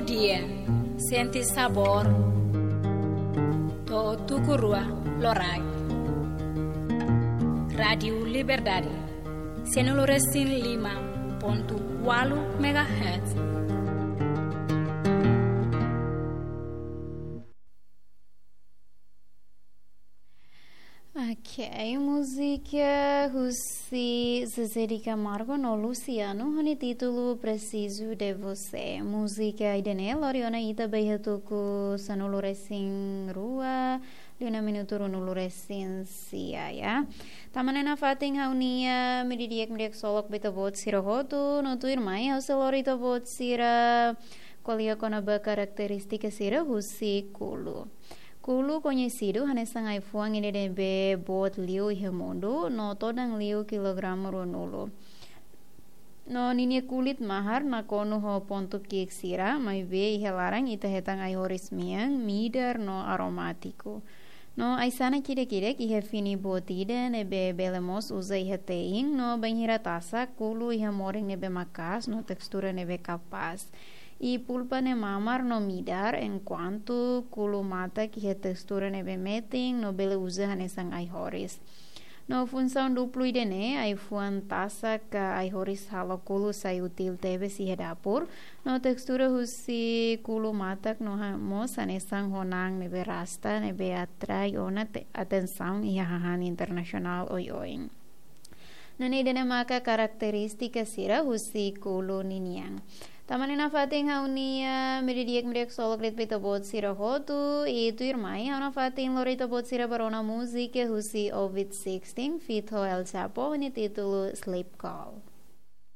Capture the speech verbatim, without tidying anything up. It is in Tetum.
Dia, sente sabór to'o tuku rua loraik. Rádiu Liberdade, sanulu resin lima pontu ualu megahertz. Ok, múzika husi Zezé de Camargo no Luciano, ho nia títulu Preciso de Você. Múzika ida-ne'e lori ona ita ba iha tuku sanulu resin rua, liu ona minutu ruanulu resin sia, ya. Tanba ne'e nafatin ha'u-nia medidi'ak-medi'ak solok ba ita-boot sira hotu, no tuirmai ha'u sei lori ita-boot sira ko'alia kona-ba karakterístika sira husi kulu. Kulu koñesidu hanesan ai-fuan ida ne'ebé boot liu iha mundu, no todan liu kilograma ruanulu. No ninia kulit mahar nakonu ho pontu ki'ik sira, maibé iha laran ita hetan ai-horis mean, midar no aromátiku. No ai-sanak ida-idak iha fini boot ida ne'ebé bele mós uza iha te'in, no bainhira tasak, kulu iha morin ne'ebé maka'as no tekstura ne'ebé kapás. I pulpa ne'e mamar no midar, enkuantu kulu matak iha tekstura ne'ebé metin no bele uza hanesan ai-horis. No funsaun duplu ida-ne'e, ai-fuan tasak ka ai-horis halo kulu sai útil tebes iha dapur, no tekstura husi kulu matak no ha-, mós hanesan ho na'an ne'ebé rasta ne'ebé atrai ona te-, atensaun iha hahán internasionál oioin. Nune'e ida-ne'e maka karakterístika sira husi kulu ninian. Tanba ne'e nafatin ha'u-nia medidi'ak-medi'ak solok de'it ba ita-boot sira hotu, i tuirmai ha'u nafatin lori ita-boot sira ba rona múzika husi Ovid Sixteen, feat ho El Chapo, ho nia títulu Sleep Call.